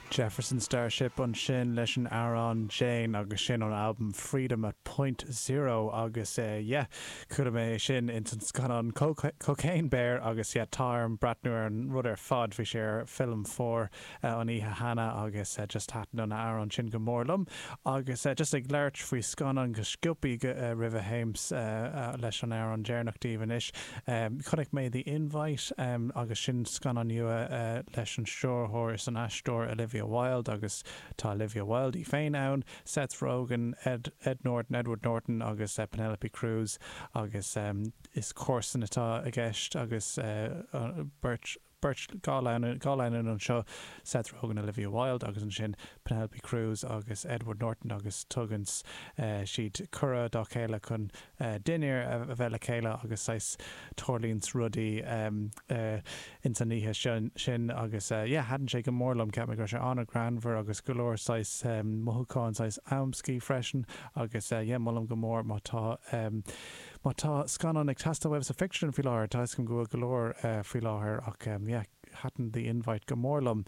Jefferson Starship ansin leis an amhrán Jane agus sin ón albam Freedom at Point Zero agus yeah chuala mé é sin ins an scannán Cocaine Bear agus yeah tá orm breathnú ar an rud ar fad, bhí sé ar Film 4 an oíche cheana agus just thaitin an amhrán sin go mór liom. Agus just ag labhairt faoi scannáin go sciobthaí roimh a théims leis an amhrán deireanach daoibh anois, chonaic mé The Invite agus sin scannán nua leis an stiúrthóir is an aisteoir Olivia Wilde agus tá Olivia Wilde í féin ann, Seth Rogen, Ed Ed Norton, Edward Norton agus Penelope Cruz agus is comharsan atá i gceist agus beirt beirt, 2 lánúin anseo, Seth Rogen, Olivia Wilde agus ansin Penelope Cruz agus Edward Norton agus tugann siad cuireadh dá chéile chun dinnéar a bheith le chéile agus saghas tarlaíonn rudaí ins an oíche sin agus yeah thaitin sé go mór liom, cheap mé go raibh sé an-ghreannmhar agus go leor saghas mothúcháin saghas amscaí freisin agus yeah molaim go mór má tá Má tá scannán ag teastáil uaibh sa phictiúrlann faoi láthair, tá 'fhios agam go bhfuil go leor faoi láthair ach yeah, thaitin The Invite go mór liom.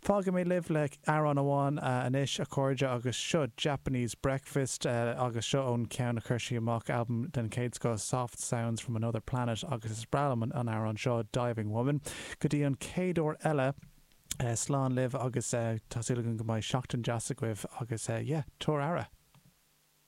Fágfaidh mé libh le amhrán amháin anois, a chairde, agus seo Japanese Breakfast agus seo ón ceann a chuir sí amach, albam den chéad scoth, Soft Sounds From Another Planet agus is breá liom an amhrán seo, Diving Woman. Go dtí an chéad uair eile, slán libh agus tá súil agam go mbeidh seachtain deas agaibh agus yeah, tabhair aire!